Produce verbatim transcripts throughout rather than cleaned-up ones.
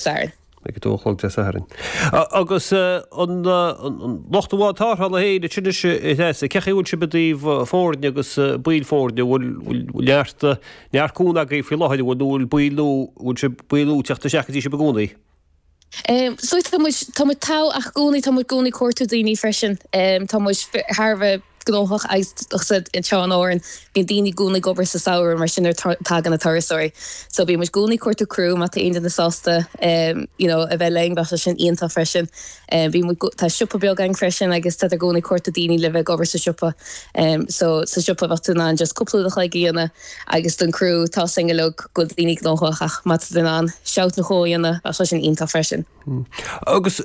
Sathairn. Ag a dó a chlog Dé Sathairn. Agus an lucht an bháid tarrthála féin ansin anois a Threasa, cén chaoi a bhfuil sibh i dtaobh foirne agus baill foirne, an bhfuil neart neart cúnamh agaibh faoi láthair, an bhfuil nó bhfuil baill nua, bhfuil sibh baill nua ag teacht isteach go dtí sibh i gcónaí? So tá muid tá muid togha ach i gcónaí tá muid i gcónaí ag cuartú daoine freisin. Tá muid thar a bheith gnóthach agus anseo in Árainn bíonn daoine i gcónaí ag obair sa samhradh mar sin nuair tagann na turasóirí. So bíonn muid i gcónaí ag cuartú criú má tá aon duine sásta you know a bheith linn bheadh sé sin iontach freisin. Bíonn muid tá siopa beag againn freisin agus tá i gcónaí ag cuartú daoine le bheith ag obair sa siopa. So sa siopa bheadh tú in ann just cúpla uair a chloig a dhéanamh agus don criú tá a fhios againn uilig go bhfuil daoine gnóthach ach má tá tú in ann shout nó dhó a dhéanamh bheadh sé sin iontach freisin. Agus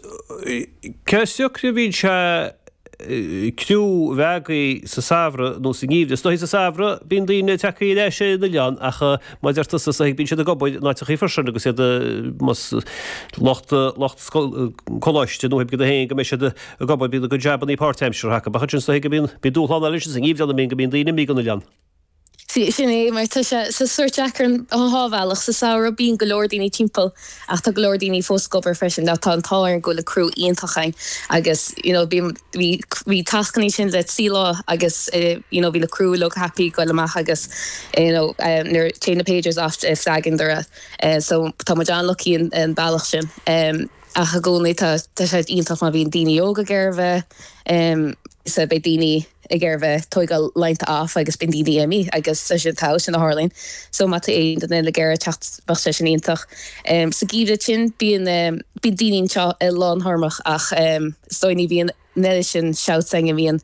cé siocair a bhíonn sé criú a bheith agaibh sa samhradh nó sa ngeimhreadh. Is dóichí sa samhradh bíonn daoine tagtha ar ais ar an oileán ach mar a deir tusa is dóichí bíonn siad ag obair in áiteachaí freisin agus iad más lucht lucht coláiste nó iad féin go mbeidh siad ag obair bíonn a gcuid jabannaí páirtaimseartha acu ach ansin is dóichí go mbíonn bíonn dúshlán eile ansin sa ngeimhreadh ann go mbíonn daoine imithe den oileán. Sin é mar tá sé sa sórt deacair an dhá bhealach. Sa samhradh bíonn go leor daoine timpeall ach tá go leor daoine fós ag obair freisin. Now tá an t-ádh orainn go bhfuil an criú iontach againn agus you know bhí bhí bhí tascannaí sin le trí lá agus you know bhí na criú uilig happy goil amach agus you know nuair téann na pagers off flagging dora. So tá muid an-lucky an an bealach sin. Ach i gcónaí tá tá sé iontach má bhíonn daoine óga ag iarraidh bheith so beidh daoine ag iarraidh bheith tógáil laethanta off agus bíonn daoine imithe agus tá sin tá sin a tharlaíonn. So má tá aon duine ag iarraidh teacht bheadh sé sin iontach. Sa gheimhreadh sin bíonn bíonn daoine anseo i lánthormach ach is dóigh ní bhíonn an oiread sin shouts againn a bhíonn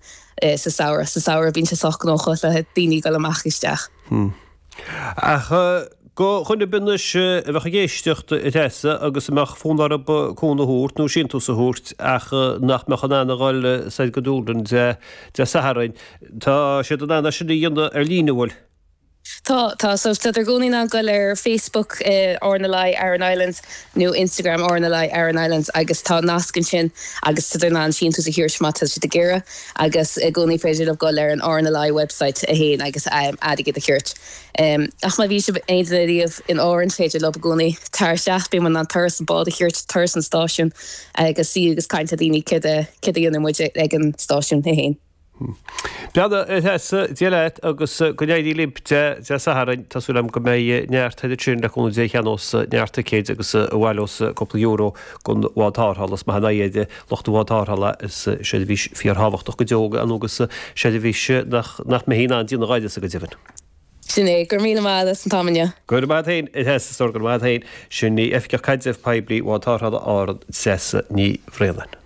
sa samhradh. Sa samhradh bíonn sé sách gnóthach le daoine ag dul amach isteach. Ach do dhuine ar bith anois a bheadh ag éisteacht a Threasa agus a mbeadh fonn orthu cúnamh a thabhairt nó síntiús a thabhairt ach nach mbeadh in ann a dhul soir go Dúlainn Dé Sathairn, tá siad in ann é sin a dhéanamh ar líne, an bhfuil? Tá, tá. So tá i gcónaí in ann goil ar Facebook RNLI Aran Islands nó Instagram RNLI Aran Islands agus tá nasc ansin agus tá in ann síntiús a thabhairt má tá siad ag iarraidh agus i gcónaí féidir leo goil ar an RNLI website a haon agus airgead a thabhairt. Ach má bhí sibh aon duine riamh in Árainn féidir leo i gcónaí tar isteach, bíonn muid in ann turas an bád a thabhairt, turas an stáisiún agus suí agus caint le daoine céard a céard a dhéanann muid ag an stáisiún é féin. Breathnaigh a Threasa, Dia leat agus go n-éirí libh Dé Sathairn. Tá súil agam go mbeidh neart thoir ansin le cúnamh Dé a cheannós neart ticéid agus a bhaileos cúpla euro don bhád tarrthála. Is maith an aghaidh ar lucht an bhád tarrthála is seirbhís fíorthábhachtach go deo agus seirbhís nach nach mbeifí in ann déanamh áineasa go deimhin. Sin é. Go raibh míle maith agat as an t-am inniu. Go raibh maith agat féin, a Threasa, go raibh maith agat féin. Sin í Oifigeach Caidrimh Poiblí Bhád Tarrthála Árann, Treasa Ní Bhraonáin.